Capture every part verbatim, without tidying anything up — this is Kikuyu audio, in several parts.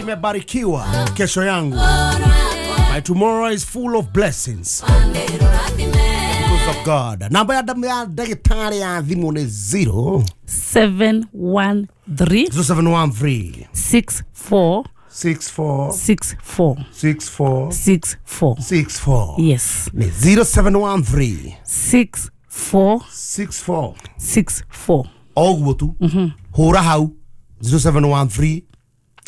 Nimebarikiwa kesho yangu. My tomorrow is full of blessings because of God. Namba ya damu ya daktari ya thimu ni zero seven one three zero seven one three six four six four six four six four six four six four. Yes. Ni zero seven one three six four six four six four. Oguo tu. Mhm. Hura hau zero seven one three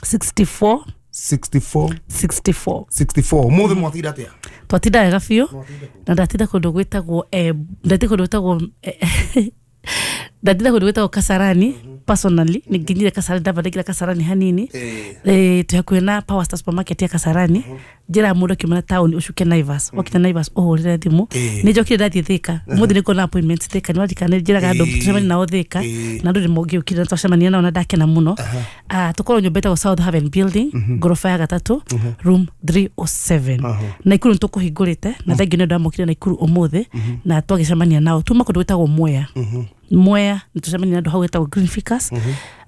sixty-four sixty-four sixty-four sixty-four. Muthe mwatinda atia? Twatinda wega biũ na ndatinda kũndũ gwĩtagwo eh, ndatinda kũndũ gwĩtagwo eh, ndatinda kũndũ gwĩtagwo Kasarani. Personally nĩ nginyire Kasarani, ndamba ndaingĩra Kasarani hanini, eh twĩ hakuhĩ na Power Star supermarket ya Kasarani. Njĩra mũndũ akiuma town ũcuke Naivas, wakinya Naivas ũhũrĩre thimũ. Nĩ njokire ndathiĩ Thika ũmũthĩ, nĩ ngona appointment Thika, nĩ waririkana nĩ njĩraga andũ tũcemanie nao Thika, na andũ nĩ mongĩũkire na twacemania nao na ndakena mũno. Ah, tũkorwo nyũmba ĩtagwo South Haven Building, ngoroba ya gatatũ, room three oh seven. Naikuru nĩ tũkũhingũrĩte na thengiũ nĩ andũ amokire Naikuru ũmũthĩ na twagĩcemania nao. Tuma kũndũ gwĩtagwo Mwea. Mwea nĩ tũcemania na andũ hau gwĩtagwo Green Ficus,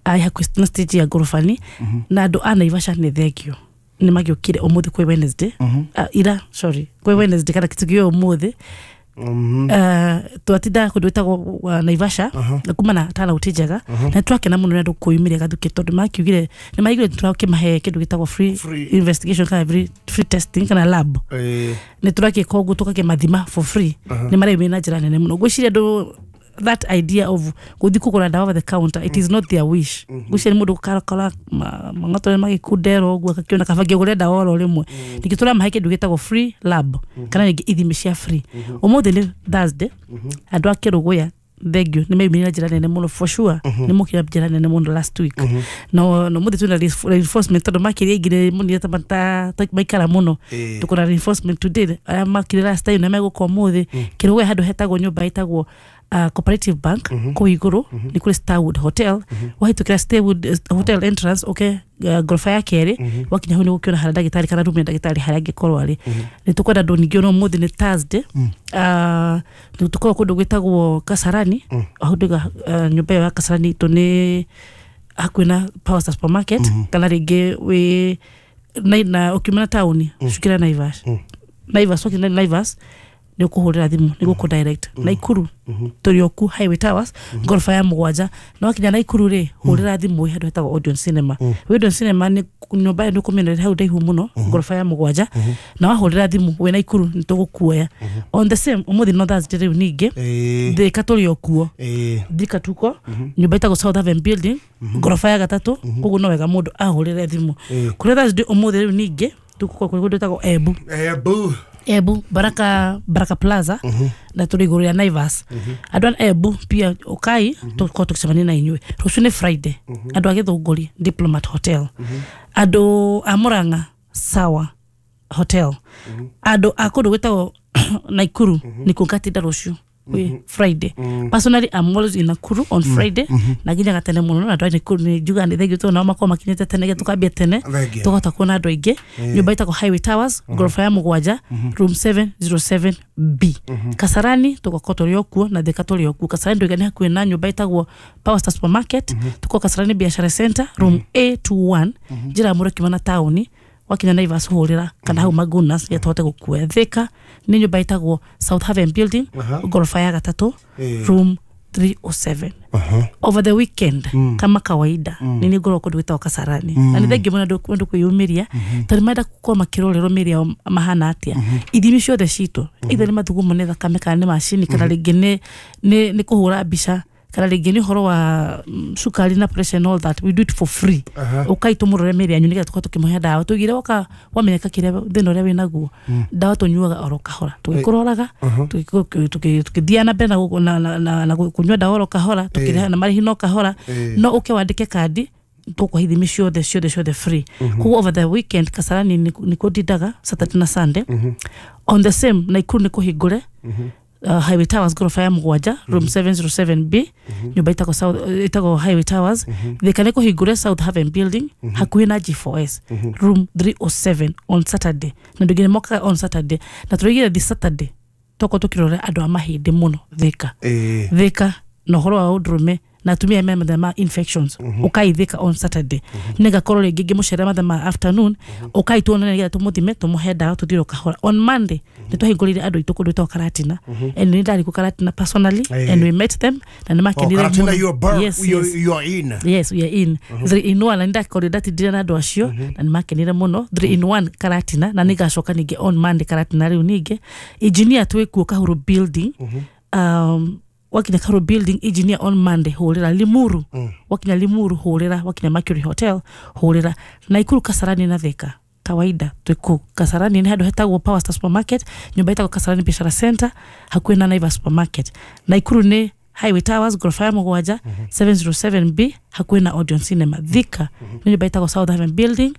ai hakuhĩ na stage ya ngorobani, na andũ a Naivasha nĩ thengio nĩ magĩũkire ũmũthĩ kwĩ Wednesday. Ah, ira sorry kwĩ Wednesday kana kĩtugio ũmũthĩ. Uh, twatinda kũndũ gwĩtagwo uh, Naivasha na kuma na tana njega na twakena mũno nĩ andũ kwĩyumĩria gathukĩ tondũ makiugire nĩ maiguire tũrakĩmahe kĩndũ gĩtagwo free, Free. investigation kana free, free testing kana lab. Eh nĩ tũrakĩka ũguo tũgakĩmathima for free. Nĩ mareyumĩria na njĩra nene mũno. Ngwĩciria andũ that idea of gũthiĩ kũgũra ndawa over the counter, it is not their wish. Ngwĩciria nĩ mũndũ gũkarakara mang'oto magĩkundera ũguo agakĩona kaba ngĩgũre ndawa oro rĩmwe. Ningĩ tũramahe kĩndũ gĩtagwo free lab kana rĩngĩ ithimi cia free. Ũmũthĩ nĩ Thursday, andũ a Kĩrũgũya thengio nĩ meyumĩria na njĩra nene mũno, for sure nĩ mokire na njĩra nene mũno last week. No no mũthĩ twĩna reinforcement tondũ makĩria aingĩ nĩ monire ta ta maikara mũno. Eh. Tukona reinforcement today, arĩa makire last time na megũka ũmũthĩ. Kĩrũgũya handũ hetagwo nyũmba ĩtagwo uh, Cooperative Bank, kũu igũrũ nĩ kũrĩ Starwood Hotel. Wahĩtũkĩra Starwood eh, Hotel entrance ũke uh, ngoroba ya kerĩ, wakinya hau nĩ ũgũkĩona harĩa ndagĩtarĩ kana room ya ndagĩtarĩ harĩa angĩkorwo arĩ. Nĩ tũkwenda andũ ningĩ ona ũmũthĩ nĩ Thursday, uh, nĩ tũkorwo kũndũ gwĩtagwo Kasarani. Hau ndauga uh, nyũmba ĩyo ya Kasarani itũ nĩ hakuhĩ na Power Star supermarket, kana rĩngĩ wĩ na, na ũkiuma na taũni cukĩra Naivas. Naivas wakinya Naivas nĩ ũkũhũrĩra thimũ nĩ gũkũ direct. Naikuru tũrĩ o ku Highway Towers, ngoroba ya mũgwanja, na wakinya Naikuru rĩ hũrĩra thimũ wĩ handũ hetagwo Odeon Cinema. Wĩ Odeon Cinema nĩ nyũmba ĩyo nĩ ũkũmĩona hau ndaihu mũno, ngoroba ya mũgwanja, na wahũrĩra thimũ wĩ Naikuru nĩ tũgũkuoya. On the same ũmũthĩ no Thursday rĩu ningĩ Eh Thika tũrĩ o kuo. Eh Thika tuko nyũmba ĩtagwo South Haven Building, ngoroba ya gatatũ, koguo no wega mũndũ ahũrĩre thimũ. Kũrĩ Thursday ũmũthĩ rĩu ningĩ tũgũkorwo kũrĩ kũndũ gwĩtagwo Embu. Embu. Embu Baraka, Baraka Plaza, na tũrĩ igũrũ rĩa Naivas. Andũ a Embu pia ũkai tũkorwo tũgĩcemania na inyuĩ. Rũciũ nĩ Friday, andũ a Gĩthũngũri Diplomat Hotel, andũ a Murang'a Sawa Hotel, andũ a kũndũ gwĩtagwo Naikuru nĩkuo ngatinda rũciũ kwĩ Friday. Personally I'm always in Nakuru on Friday na nginyaga tene mũno, na andũ a Nakuru nĩ njugaga nĩ thengio tondũ nao makoragwo makinyĩte tene nĩgetha tũkambia tene Thengio. tũkahota kuona andũ aingĩ. Nyũmba ĩtagwo Highway Towers, ngoroba ya mũgwanja, room seven zero seven B. Kasarani tũgakorwo tũrĩ o kuo na Thika tũrĩ o kuo. Kasarani ndoiga nĩ hakuhĩ na nyũmba ĩtagwo Power Star supermarket. Tũkorwo Kasarani Biashara Center, room A two one. Njĩra ya mũndũ akiuma na taũni wakinya Naivas hũrĩra kana hau Magunas nĩgetha tũhote gũkuoya. Thika nĩ nyũmba ĩtagwo South Haven Building, ngoroba ya gatatũ, Eh. room three oh seven. Over the weekend kama kawaida nĩ nĩ ngoragwo kũndũ gwĩtagwo Kasarani, na nĩ thengio mũno andũ andũ kwĩyumĩria tondũ marenda gũkorwo makĩrorerwo mĩĩrĩ yao mahana atĩa. Ithimi ciothe citũ, either nĩ mathugumo, nĩ thakame, kana nĩ macini, kana rĩngĩ nĩ nĩ nĩ kũhũra mbica, kana rĩngĩ nĩ ũhoro wa mm, cukari na pressure and all that, we do it for free. Ũkai tũmũrore mĩĩrĩ yanyu nĩgetha tũkorwo tũkĩmũhe ndawa. Tũigire woka wamenyeka kĩrĩa thĩna ũrĩa wĩnaguo, ndawa tũnyuaga oro kahora tũgĩkũroraga, tũgĩthiaga na mbere na gũ- na- na- na- na kũnyua ndawa oro kahora, tũkĩrĩha na marĩhi no kahora. No ũke wandĩke kandi, tũkũhe ithimi ciothe ciothe ciothe free. Koguo over the weekend Kasarani nĩkuo ndindaga Saturday na Sunday. On the same Naikuru nĩ kũhingũre uh, Highway Towers, ngoroba ya mũgwanja, room seven zero seven B, nyũmba ĩtagwo South ĩtagwo Highway Towers. Thika nĩ kũhingũre South Haven Building, hakuhĩ na G four S, room three oh seven on Saturday, na andũ aingĩ nĩ mokaga on Saturday. Na tũraigire this Saturday tũkorwo tũkĩrora andũ a mahĩndĩ mũno Thika. Eh Thika na ũhoro wa ũndũrũme na Na atumia mena mathĩna ma infections, ũkai Thika on Saturday. Nĩngakorwo rĩngĩ ngĩmũcerera mathaa ma afternoon. Ũkai tuonane nĩgetha tũmũthime, tũmũhe ndawa, tũthiĩ o kahora. On Monday nĩ twahingũrĩire andũ aitũ kũndũ gwĩtagwo Karatina, and nĩ ndarĩ kũ Karatina personally, Eh. and we met them na nĩ Oh, makenire Karatina, mũno. you are bur- Yes, you, yes. you are in. Yes, we are in three in one, na ndakorire ndatindire na andũ acio na nĩ makenire mũno. Three in one Karatina, na nĩngacoka ningĩ on Monday Karatina. Rĩu ningĩ engineer twĩ kuo Kahuru building. um, wakinya Kahuru building, engineer, on Monday hũrĩra. Limuru, wakinya Limuru hũrĩra, wakinya Mercury Hotel hũrĩra. Naikuru, Kasarani na Thika kawaida twĩ kũu. Kasarani nĩ handũ hetagwo Power Star Supermarket, nyũmba ĩtagwo Kasarani Biashara Center, hakuhĩ na Naivas Supermarket. Naikuru nĩ Highway Towers, ghorofa ya mũgwanja, seven zero seven B, hakuhĩ na Odeon Cinema. Thika nĩ nyũmba ĩtagwo South Haven Building,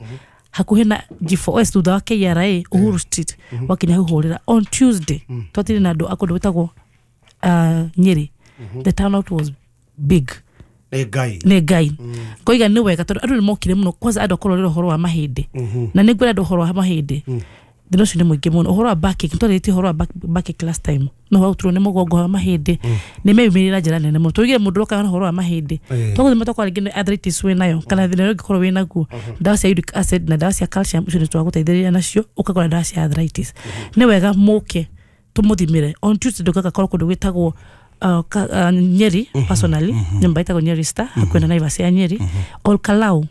hakuhĩ na G four S, thutha wa K R A, Uhuru Street. Wakinya hau hũrĩra. On Tuesday twatire na andũ a kũndũ gwĩtagwo uh, Nyĩrĩ. The turnout was big. Nĩ Ngai. Nĩ Ngai ngoiga nĩ wega tondũ andũ nĩ mokire mũno, kwanza andũ akorwo rĩra ũhoro wa mahĩndĩ, na nĩ ngwĩra andũ ũhoro wa mahĩndĩ, thĩna ũcio nĩ mũingĩ mũno. Ũhoro wa backache, nĩtwarĩtie ũhoro wa back- backache last time, no ũhoro nĩ mũgongo wa mahĩndĩ nĩ meyumĩrire na njĩra nene mũno. Tũigire mũndũ ũroka na ũhoro wa mahĩndĩ, Eh. twagũthima twakorwo rĩngĩ nĩ arthritis wĩ nayo kana thĩna ũrĩa ũngĩkorwo wĩ naguo, ndawa cia uric acid na ndawa cia calcium icio nĩ twagũteithĩrĩria nacio, ũkagũra ndawa cia arthritis. Nĩ wega mũke tũmũthimĩre. On Tuesday ndũgagakorwo kũndũ gwĩtagwo uh, ka, uh, Nyeri personally, nyũmba ĩtagwo Nyeri Star, hakuhĩ na Naivas ya Nyeri. Olkalau,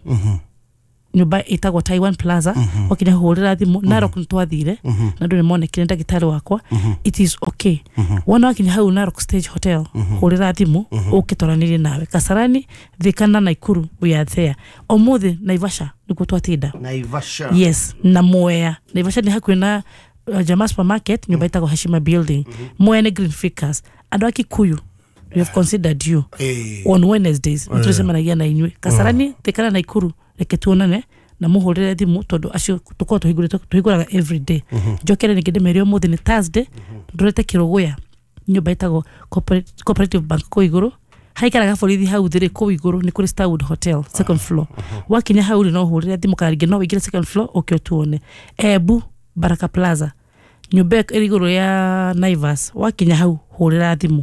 nyũmba ĩtagwo Taiwan Plaza, wakinya hũrĩra thimũ. Narok nĩ twathire na andũ nĩ monekire ndagĩtarĩ wakwa. It is okay. Wona wakinya hau Narok Stage Hotel, hũrĩra thimũ ũke twaranĩrie nawe. Kasarani, Thika na Naikuru, we are there. Ũmũthĩ Naivasha nĩkuo twatinda. Naivasha. Yes, na Mwea. Naivasha nĩ hakuhĩ na uh, Jamaa Supermarket, nyũmba ĩtagwo Heshima Building. Mwea nĩ Green Ficus. Andũ a Kikuyu, we have considered you. Eh. On Wednesdays nĩ tũcemanagia na inyuĩ Kasarani, Thika na Naikuru. Reke tuonane na mũhũrĩre thimũ tondũ acio tũkorwo tũhingũrĩte, tũhingũraga every day. Njokere ningĩ ndĩmere ũmũthĩ nĩ Thursday, ndũrete Kĩrũgũya, nyũmba ĩtagwo Corporate- Cooperative Bank kũu igũrũ, haikaraga borithi hau thĩrĩ. Kũu igũrũ nĩ kũrĩ Starwood Hotel, second floor. Wakinya hau rĩ, no ũhũrĩre thimũ kana rĩngĩ no ũingĩre second floor ũke ũtuone. Embu, Baraka Plaza, nyũmba ĩyo ĩrĩ igũrũ ya Naivas. Wakinya hau hũrĩra thimũ.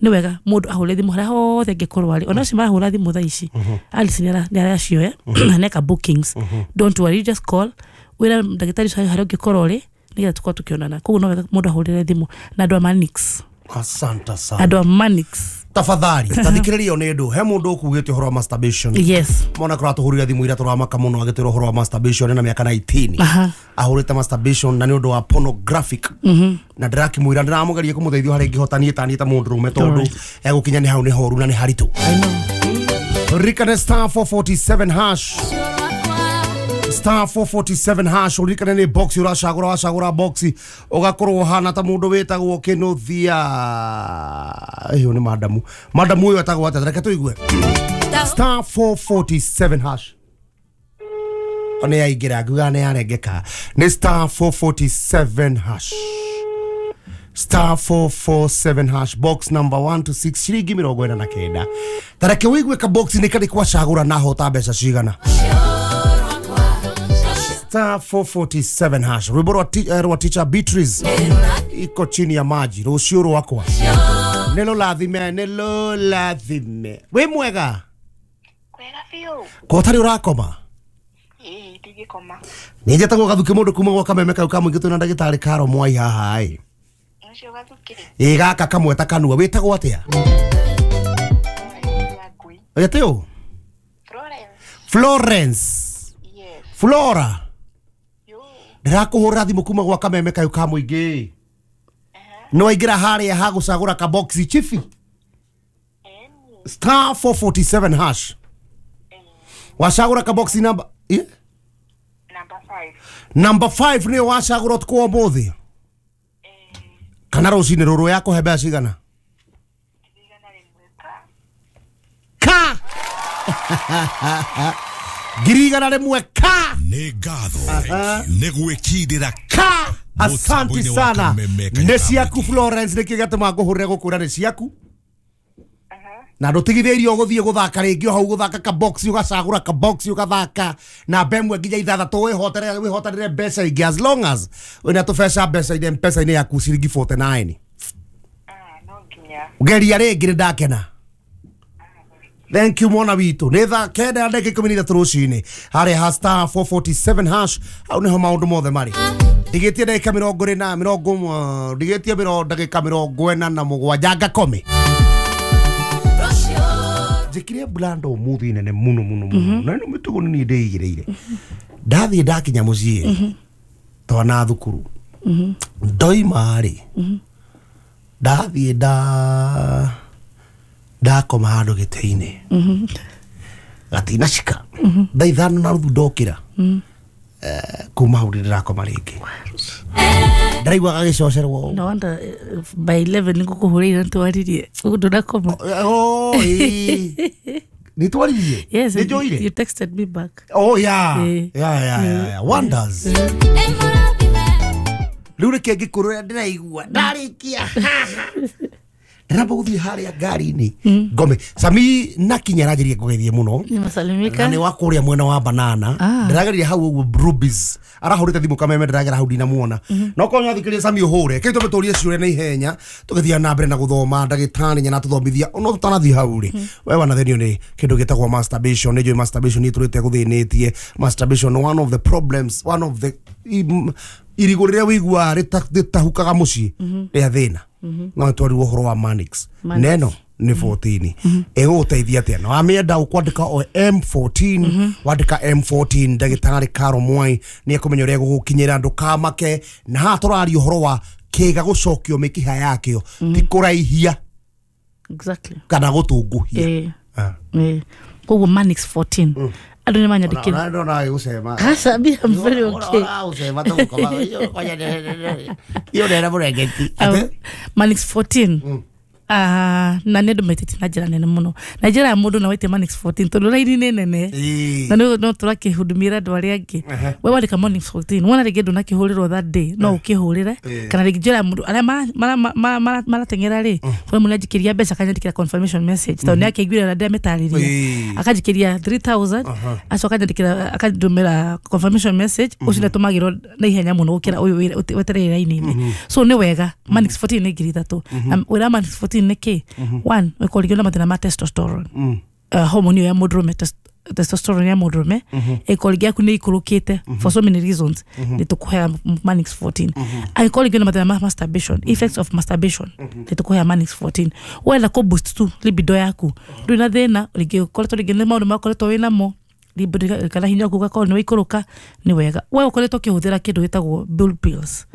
Nĩ wega mũndũ ahũrĩre thimũ harĩa hothe angĩkorwo arĩ. Ona acio marahũra thimũ thaa ici, Alice nĩ aracioya na neka bookings. Don't worry, you just call, wĩra ndagĩtarĩ ũcio harĩa ũngĩkorwo ũrĩ nĩgetha tũkorwo tũkĩonana. Koguo no wega mũndũ ahũrĩre thimũ. Na andũ a Manix, Asante sana. andũ a Manix, Tafadhali tathikĩrĩrio nĩ ndũ he mũndũ ũkugĩte ũhoro wa masturbation. Yes. Mona kũratũhũrĩra thimũ ira, tũramaka mũno agĩtwĩra ũhoro wa masturbation na mĩaka nineteen Aha. ahũrĩte masturbation na nĩ ũndũ wa pornographic, na ndĩrakĩmwĩra ndĩramũgeria kũmũteithia harĩa ingĩhota niĩ taniĩ ta mũndũrũme tondũ egũkinya nĩ hau nĩ horu na nĩ haritũ. I know. Ririkane star four forty-seven hash, star four forty-seven hash. Uririkane nĩ box ũracagũra, wacagũra box ũgakorwo hana ta mũndũ wĩtagwo Kĩnũthia. Ĩyo nĩ madamu, madamu ũyũ etagwo atĩa? Reke tũigue. Star four forty-seven hash nĩ yaingĩra, ngiuga nĩ yarengeka. Nĩ star four forty-seven hash, star four four seven hash, box number one to six, ciringi mĩrongo ĩna na kenda. Tareke wĩigue ka box nĩ karĩ kwacagũra na hota mbeca cigana. Star four forty-seven hash. Rwĩmbo rwa ti- eh, rwa Teacher Beatrice, iko chini ya maji. Rũciũ rwakwa nĩ rũrathime, nĩ rũrathime. Wĩ mwega? Kwega biũ. Ko ũtarĩ ũrakoma? Ĩĩ, ndigĩkoma. Nĩ njetagwo Gathuki, mũndũ kuma gwa Kameme kau ka mũingĩ. Twĩna ndagĩtarĩ Karo Mwai haha ĩ. Ũcio Gathuki. Ĩ gaka kamwe ta kanua. Wĩtagwo atĩa? Ya ngui. Ĩtĩ ũ? Florence. Florence. Yes. Flora. Yo. Ndĩrakũhũrĩra thimũ kuma gwa Kameme kau ka mũingĩ. Nĩ waingĩra harĩa ha gũcagũra kaboxi chifi? Eni. Star four forty-seven hash, wacagũra kaboxi namba eh? Number five. Number five nĩyo wacagũra ũtukũ wa ũmũthĩ kana rũcinĩ rũrũ, yakũhe mbeca cigana? Igana rĩmwe ka. Ka ngiri igana rĩmwe ka. Nĩ ngatho nĩ gwĩkindĩra Ka asanti Mũtambo-inĩ wa sana. Kameme Nĩ Kanyama ciaku. Mũingĩ. Florence, nĩkĩ gĩatũma ngũhũrĩre gũkwĩra nĩ ciaku na ndũtigithĩirio ũgũthiĩ gũthaka rĩngĩ o hau gũthaka kabox, ũgacagũra kabox ũgathaka namba ĩmwe nginya ithathatũ, wĩhotere wĩhotanĩre mbeca ingĩ, as long as wĩna tũbeca mbeca-inĩ mpesa-inĩ yaku ciringi mĩrongo ĩna na kenda. Ah, no nginya. Geria rĩngĩ, nĩ ndakena. Thank you mwana witũ. Nĩ thaa kenda na ndagĩka ikũmi na ithatũ rũcinĩ harĩa ha star four forty-seven hash hau nĩho maũndũ mothe marĩ. Ndigĩtie ndagĩka mĩrongo ĩna mĩrongo ndigĩtie mĩrongo ndagĩka mĩrongo ĩna na mũgwanja ngakome. Njĩkire blanda ũmũthĩ nene mũno mũno mũno na ĩno mĩtugo nĩ niĩ ndĩigĩrĩire. Ndathiĩ ndakinya mũciĩ twana thukuru ndoima rĩ ndathiĩ nda ndakoma handũ gĩtĩ-inĩ gatinacika thaa ithano na nuthu ndokĩra kuma hau ndĩrakoma rĩngĩ ndĩraigua gagĩcocerwo. No wonder by eleven nĩngũkũhũrĩire ntwaririe ndũnakoma. Oh, nĩ twaririe? Yes, nĩ njoire? You texted me back. Oh yeah. Yeah, yeah, yeah, yeah. Wonders. Rĩu reke ngĩkũrũra ndĩraigua ndarĩkia ndĩramba gũthiĩ harĩa ngari-inĩ ngome. Sami nakinya aranjĩria ngũgeithie mũno Nimesalimika. Na nĩ wa kũrĩa mwena wa banana ndĩrageria hau ũguo Rubies arahũrĩte thimũ kameme ndĩragera hau ndinamuona no korwo nĩwathikĩrĩria Sami ũhũre kĩu tũme tũrie ciũria na ihenya tũgĩthiĩ na mbere na gũthoma ndagĩtarĩ nyana tũthomithia no tũtanathiĩ hau rĩ we wanathenio nĩ kĩndũ gĩtagwo masturbation. Nĩ njũĩ masturbation nĩ tũrĩte gũthĩnĩtie. Masturbation one of the problems, one of the irigũ rĩrĩa wĩiguaga rĩtahukaga mũciĩ rĩa thĩna no twarirwo ũhoro wa Manix neno nĩ fourteen ĩgũgũteithia atĩa na wamĩenda ũkwandĩka o M fourteen wandĩka M fourteen ndagĩtarĩ Caro Mwai nĩ ekũmenya ũrĩa egũgũkinyĩra ndũkamake. Na haha tũraria ũhoro wa kĩga gũcokio mĩkiha yakĩo ti kũraihia exactly kana gũtunguhia. Eh koguo Manix fourteen andũ nĩ manyandĩkĩra. Ndona gũcema. Aca, me, I'm very okay. Ũra gũcema iyo ndera mũrengeti. Manix fourteen Ah, na nĩ andũ maitĩtie na njĩra nene mũno na njĩra ya mũndũ na waite Manix fourteen tondũ raini nĩ nene na no no tũrakĩhudumĩra andũ arĩa angĩ. We wandĩka Manix fourteen wona rĩngĩ ndũnakĩhũrĩrwo that day no ũkĩhũrĩre kana rĩngĩ njĩra ya mũndũ arĩa marateng'era rĩ kũrĩ mũndũ anjikĩria mbeca akanyandĩkĩra confirmation message tondũ nĩ akĩiguire na ndĩramĩtarĩria akanjikĩria three thousand acoka akanyandĩkĩra akandũmĩra confirmation message ũcio nĩatũmagĩrwo na ihenya mũno gũkĩra ũyũ wetereire raini-inĩ. So nĩ wega Manix fourteen nĩ ngiri ithatũ na wĩra Manix fourteen nĩ kĩ one ũkorwo na mathĩna ma testosterone uh, hormone ya mũndũrũme testosterone ya mũndũrũme ĩkorwo yaku nĩ ikũrũkĩte for so many reasons nĩ tũkũhea Manix fourteen. Angĩkorwo rĩngĩ na mathĩna ma masturbation, effects of masturbation nĩ tũkũhea Manix fourteen. Wenda kũ boost tu libido yaku ndũrĩ na thĩna rĩngĩ ũkoretwo rĩngĩ nĩ maũndũ makoretwo wĩnamo libido kana hinya waku ũgakorwo nĩ waikũrũka nĩ wega. We ũkoretwo ũkĩhũthĩra kĩndũ gĩtagwo blue pills.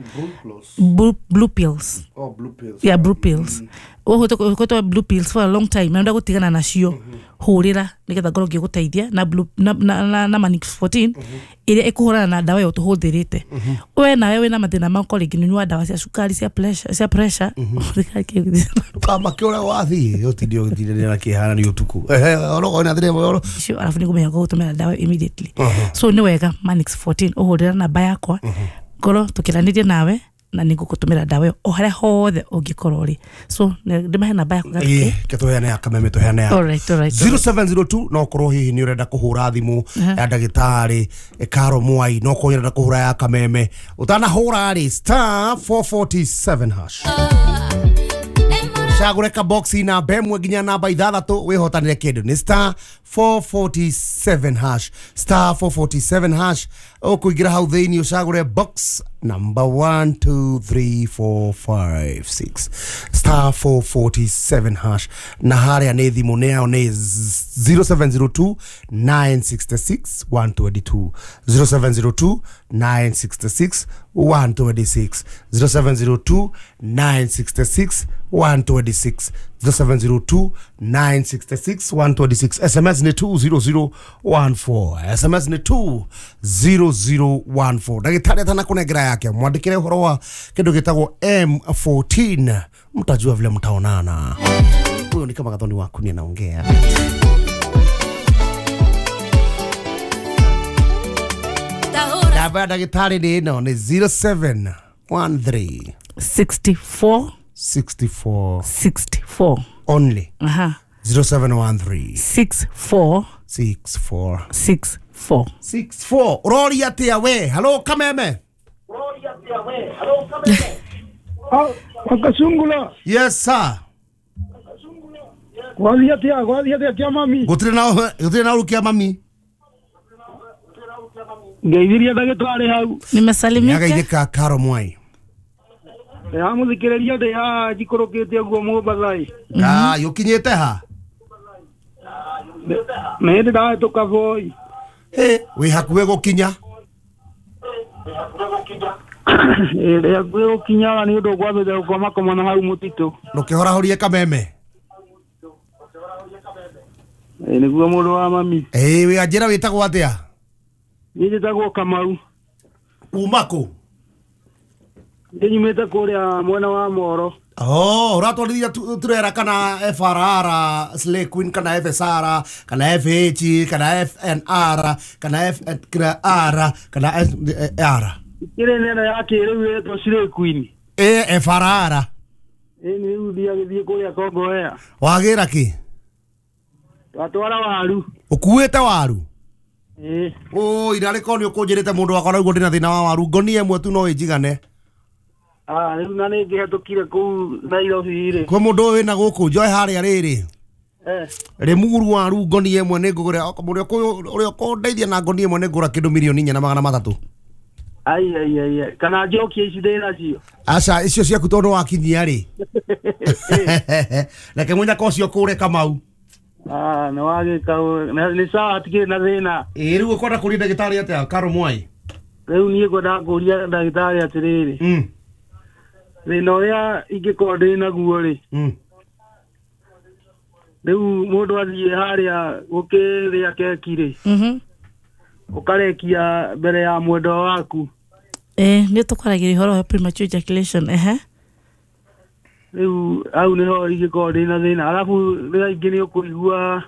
Blue, blue pills. Oh, blue pills. Yeah, blue pills. Ũkoretwo blue pills for a long time na ũrenda gũtigana nacio hũrĩra nĩgetha ngorwo ngĩgũteithia na blue na na, na Manix fourteen ĩrĩa ĩkũhũrana na ndawa ĩyo tũhũthĩrĩte. We nawe wĩna mathĩna ma ũkorwo rĩngĩ nĩũnyuaga ndawa cia cukari cia pressure cia pressure Kamake ũrĩa wathiĩ ũtinde ũgĩtindanĩra na kĩhara nĩ ũtukũ ehe orogo na thĩna icio arabu nĩngũmenya gũgũtũmĩra ndawa immediately. So nĩ wega Manix fourteen ũhũrĩra namba yakwa ngorwo tũkĩranĩrie nawe na nĩngũgũtũmĩra ndawa ĩyo o harĩa hothe ũngĩkorwo ũrĩ. So ndĩmahe namba yaku gatike tũheane ya kameme tũheane ya all right, all right, zero seven zero two no korwo hihi nĩ ũrenda kũhũra thimũ ya ndagĩtarĩ Caro Mwai no korwo ũrenda kũhũra ya kameme ũtanahũra rĩ star four forty-seven hash cagũre ka box namba ĩmwe nginya namba ithathatũ wĩhotanĩre kĩndũ nĩ star four forty-seven hash star four forty-seven hash ũkũingĩra hau thĩinĩ ũcagũre box number one two three four five six star four forty-seven hash na harĩa nĩ thimũ nĩ yao nĩ zero seven zero two nine six six one two two zero seven zero two nine six six one two six zero seven zero two nine six six one two six zero seven zero two nine six six one two six. S M S ni two zero zero one four. S M S ni two zero zero one four. Ndagĩtarĩ atanakũnengera yake mwandĩkĩre ũhoro wa kĩndũ gĩtagwo M fourteen mtajua vile mtaonana. Huyo ni kama Gathoni waku ni anaongea. Namba ya ndagĩtarĩ nĩ ĩno nĩ zero seven one three sixty-four sixty-four sixty-four only. Aha. zero seven one three six four six four six four six four. Ũroria atĩa we? Hello Kameme. Ũroria atĩa we? Hello Kameme. Wakasungula. Yes sir. Gwathiĩ atĩa gwathiĩ atĩa kĩa mami? Gũtirĩ na gũtirĩ na ũru kĩa mami. Ngeithirie ndagĩtarĩ hau. Nimesalimika. Nĩageithĩka Karo Mwai. Ndĩramũthikĩrĩria ndĩ haha njikũrũkĩte ũguo Mombatha-ĩ. Ngai ũkinyĩte ha? Nĩ hĩndĩ ndahĩtũka Voi. Hĩ, wĩ hakuhĩ gũkinya. Ĩ ndĩ hakuhĩ gũkinya nĩ ũndũ ngwambĩte gũkomakoma na hau mũtitũ. Ndũkĩhorahorie kameme. Ĩ nĩguo mũndũ wa mami. Ĩ wĩ anjĩra wĩtagwo atĩa? Niĩ njĩtagwo Kamau. Kuma kũ? Niĩ nyumĩte kũrĩa mwena wa Moro. Oh, ũratwarithia turera kana F R R, Slay Queen kana F S R, kana F H, kana F N R, kana F R, kana S R. Kĩrĩ neno ya kĩrĩu ĩtwo Slay Queen. Ĩ F R R. Ĩ nĩ rĩu thiagĩthiĩ kũrĩa Kongowea. Wagĩra kĩ? Twatwara waru. Ũkuĩte waru? Ĩ. Ũ irarĩ korwo nĩ ũkũnjĩrĩte mũndũ wakwa naguo ndĩna thĩna wa waru ngonie ĩmwe tu no ĩnjigane. Ah, rĩu na nĩ ngĩhetũkire kũu Nairobi rĩ. Kwĩ mũndũ ũyũ wĩna gũkũ njoe harĩa rĩrĩ. Eh. Rĩmuru waru ngonie ĩmwe nĩ ngũgũra ũrĩa ũrĩa ũkũndeithia na ngonie ĩmwe nĩ ngũra kĩndũ mirioni inya na magana matatũ. Ai ai ai kana njokie ici ndĩ nacio. Aca icio ciaku tondũ wakinyia rĩ. Reke mũnyaka ũcio kũre Kamau. Ah, nĩ wagĩka nĩ sawa hatikĩrĩ na thĩna. Ĩ rĩu ũkwenda kũria ndagĩtarĩ atĩa Karo Mwai? Rĩu niĩ ngwendaga kũria ndagĩtarĩ atĩrĩrĩ. Mm. Thĩna ũrĩa ingĩkorwo ndĩ naguo rĩ. Mm. Rĩu mũndũ athiĩ harĩa gũkĩrĩa keki rĩ. Mhm. Ũkarekia mbere ya mwendwa waku. Eh, nĩ tũkwaragĩria ũhoro wa premature ejaculation ehe. Rĩu hau nĩho ingĩkorwo ndĩ na thĩna. Arabu rĩrĩa ingĩ nĩ ũkũigua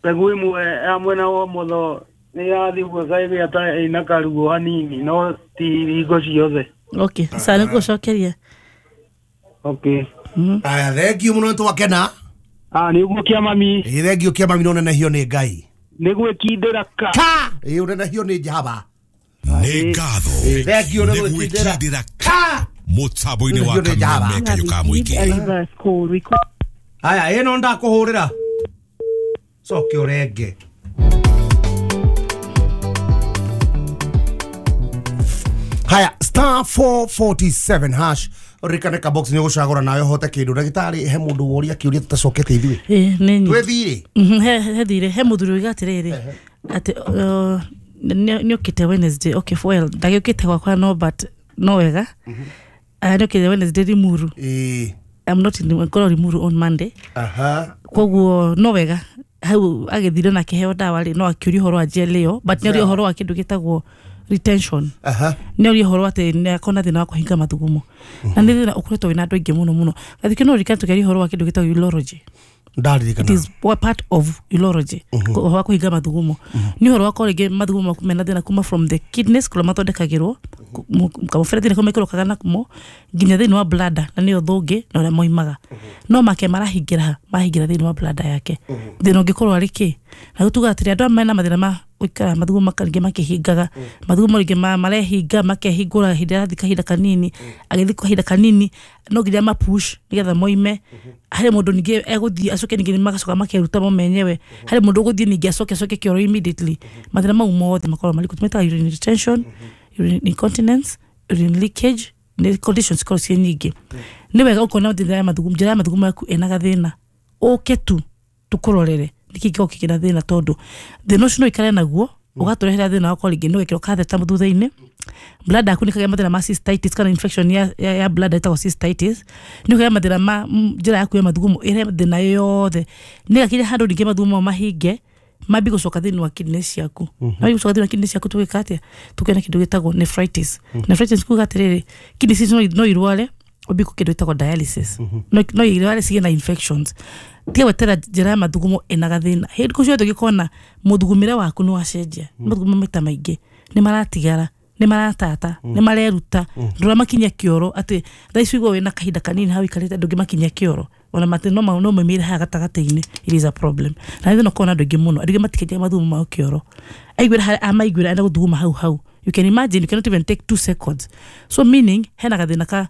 mbegũ ĩmwe ya mwena wa ũmotho nĩ yathiĩ ũguo ĩkagĩa ta ĩna karuo hanini no ti hingo ciothe. Okay, sawa nĩngũcokeria. Okay. Mhm. Aya thengiũ mũno nĩtwakena. Ah, nĩ ũguo kĩa mami. Ĩ thengiũ kĩa mami no nenehio nĩ Ngai. Nĩ gwĩkindĩra ka. Ka! Ĩ ũnenehio nĩ Jehova. Nĩ ngatho. Ĩ thengiũ nĩ gwĩkindĩra ka. Mũtambo-inĩ wa Kameme kayũ ka mũingĩ. Aya ĩno ndakũhũrĩra. Coke ũrenge. Haya star four forty-seven hash ririkane ka box nĩ ũgũcagũra nawe ũhote kĩndũ. Ndagĩtarĩ he mũndũ woria kĩũria tũtacokete ithuĩ. Ĩ nĩ Twĩ thirĩ? Mhm, he he thirĩ he mũthuri oiga atĩrĩrĩ atĩ nĩ ũkĩte Wednesday. Okay, well ndagĩũkĩte gwakwa no but no wega. Ah, nĩ ũkĩte Wednesday Limuru. Ĩ. I'm not in ngorwo Limuru on Monday. Aha. Koguo no wega hau agĩthire na akĩheo ndawa rĩ no akĩũria ũhoro wa gel ĩyo but nĩ ũria ũhoro wa kĩndũ gĩtagwo retention. Aha. Nĩ ũria ũhoro atĩ nĩ akona thĩna wa kũhinga mathugumo. Na nĩ thĩna ũkoretwo wĩna andũ aingĩ mũno mũno. Gathikĩ no ririkane tũkĩaria ũhoro wa kĩndũ gĩtagwo urology. Ndaririkana. It is part of urology. Ũhoro wa kũhinga mathugumo. Nĩ ũhoro wa korwo rĩngĩ mathugumo maku mena thĩna kuma from the kidneys kũrĩa mathondekagĩrwo kamũberethi nĩko mekĩrũkaga namo nginya thĩinĩ wa bladder na nĩyo thũngĩ na ũrĩa moimaga. No make marahingĩra ha marahingĩra thĩinĩ wa bladder yake. Thĩna ũngĩkorwo arĩ kĩ? Na rĩu tugaga atĩrĩ andũ aya mena mathĩna ma gũikara mathugumo rĩngĩ makĩhingaga mathugumo rĩngĩ marehinga makehingũra hĩndĩ ĩrathiĩ kahinda kanini agĩthiĩ kahinda kanini no nginya ma push nĩgetha moime. Harĩ mũndũ ningĩ egũthiĩ acoke ningĩ magacoka makeruta mo menyewe. Harĩ mũndũ ũgũthiĩ ningĩ acoke acoke kĩoro immediately. Mathĩna mau mothe makoragwo marĩ tũmetaga urine retention, urine incontinence, urine leakage, nĩ conditions cikoragwo ciĩ nyingĩ. Nĩ wega ũkona njĩra ya mathugumo njĩra ya mathugumo yaku ĩna gathĩna ũke tu tũkũrorere nĩkĩ gĩkoragwo kĩna thĩna tondũ thĩna ũcio no ũikare naguo ũgatũrehera thĩna wa korwo rĩngĩ nĩ wekĩrwo catheter thutha-inĩ bladder yaku nĩ ĩkagĩa mathĩna ma cystitis kana infection ya, ya, ya bladder ĩtagwo cystitis nĩ ũkagĩa mathĩna ma njĩra yaku ya mathugumo ĩrehe thĩna yothe nĩ gakinya handũ ningĩ mathugumo mahinge mambi gũcoka thĩinĩ wa kidneys ciaku. Mambi gũcoka thĩinĩ wa kidneys ciaku tũgĩka atĩa? Tũkĩona kĩndũ gĩtagwo nephritis. Nephritis kuga atĩrĩrĩ kidneys ici no irware ũmbie kĩndũ gĩtagwo dialysis. No no irware cigĩe na infections. Tiga gwetera njĩra ya mathugumo ĩna gathĩna. Hĩndĩ kũ ciothe ũngĩkona mũthugumĩre waku nĩ wacenjia mathugumo maita maingĩ nĩ maratigara nĩ maratata nĩ mareruta ndũramakinyia kĩoro atĩ thaa ici ũigua wĩna kahinda kanini hau ũikarĩte ndũngĩmakinyia kĩoro ona matĩ no no maumĩre haha gatagatĩ-inĩ it is a problem. Na nĩ thĩna ũkoragwo na andũ aingĩ mũno andũ aingĩ matikinyaga mathugumo mao kĩoro aiguĩra harĩa amaiguĩra enda gũthuguma hau hau. You can imagine you cannot even take two seconds. So meaning hena gathĩna ka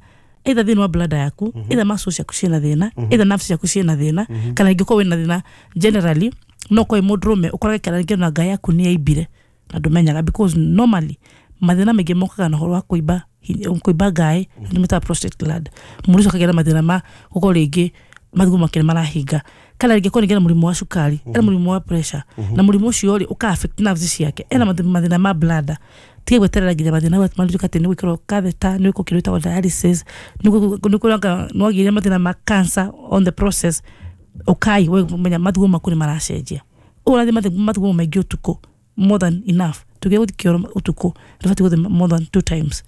Either thĩinĩ wa bladder yaku, either muscles ciaku ciĩna thĩna, either nerves ciaku ciĩna thĩna, kana ingĩkorwo wĩna thĩna generally. No korwo wĩ mũndũrũme, ũkorage kana rĩngĩ ona ngai yaku nĩ yaimbire na ndũmenyaga, because normally mathĩna maingĩ mokaga na ũhoro wa kũimba hi- kũimba ngaĩ, nĩ mĩtaga prostate gland. Mũndũ ũcio akagĩa na mathĩna ma gũkorwo rĩngĩ mathugumo make nĩ marahinga, kana rĩngĩ korwo rĩngĩ na mũrimũ wa cukari, ena mũrimũ wa pressure, na mũrimũ ũcio rĩ ũka affect nerves ciake, ena mathĩ- mathĩna ma bladder. Tiga gweterera nginya mathĩna matuĩka atĩ nĩ gwĩkĩrwo catheter, nĩ gwĩkwo kĩndũ gĩtagwo dialysis, nĩ gwĩkwo nĩ mathĩna ma cancer on the process. Ukai we menya mathugumo maku nĩ maracenjia. Ũrathiĩ mathugumo maingĩ ũtukũ, more than enough. Tũgĩe gũthiĩ kĩoro ũtukũ, ndũbatiĩ gũthiĩ more than two times.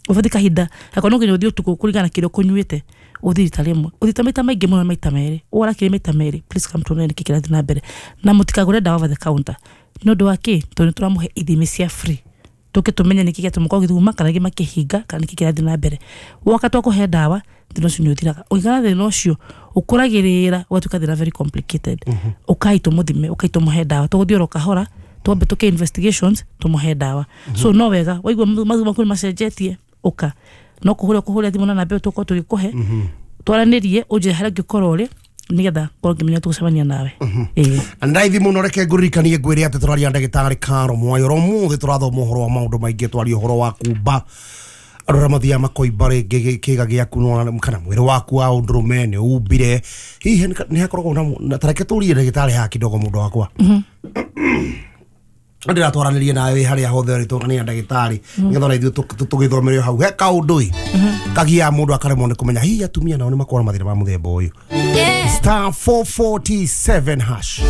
Ũbatiĩ kahinda akorwo no nginya ũthiĩ ũtukũ kũringana na kĩrĩa ũkũnyuĩte, ũthiĩ rita rĩmwe. Ũthiĩte maita maingĩ mũno maita merĩ. Ũrakĩrĩ maita merĩ, please come tuone nĩkĩ kĩrathiĩ na mbere. Na mũtikagũre ndawa over the counter. Nĩ ũndũ wa kĩ? Tondũ nĩ tũramũhe ithimi cia free, tũke tũmenye nĩkĩ gĩatũma ũkorwo ũgĩthuguma, kana rĩngĩ makĩhinga, kana nĩkĩ kĩrathiĩ na mbere. Woka twakũhe ndawa, thĩna ũcio nĩ ũthiraga. Ũngĩkora thĩna ũcio ũkũragĩrĩra ũgatuĩka thĩna very complicated, ũkai tũmũthime, ũkai tũmũhe ndawa. Tũgũthiĩ oro kahora, twambe tũke investigations, tũmũhe ndawa. So no wega waigua mathugumo maku nĩ macenjetie, ũka no kũhũra kũhũra thimũ na namba ĩyo tũkorwo tũgĩkũhe, twaranĩrie, ũnjĩre harĩa ũngĩkorwo ũrĩ, nĩgetha ngorwo ngĩmenya tũgũcemania nawe. Ĩĩ. Ndaithi muno. Reke ngũririkanie ngwĩre atĩ tũraria ndagĩtarĩ Karo Mwayo oro mũthĩ. Tũrathoma ũhoro wa maũndũ maingĩ, twaria ũhoro wa kumba, andũ arĩa mathiaga makoimba rĩngĩ kĩga gĩaku no- kana mwĩrĩ waku wa ũndũrũme nĩ umbire. Hihi nĩ hakoragwo na na- ta reke tũrie ndagĩtarĩ haha kidogo. Mũndũ wakwa, ndĩratwaranĩrie nawe wĩ harĩa hothe ũrĩ, tũrania ndagĩtarĩ nĩgetha ona ithuĩ tũ- tũ- tũgĩthomere o hau. He kaũndũ ĩ kagiaga mũndũ akaremwo nĩ kũmenya hihi atumia nao nĩ makoragwo na mathĩna ma mũthemba ũyũ. Star four forty-seven hash.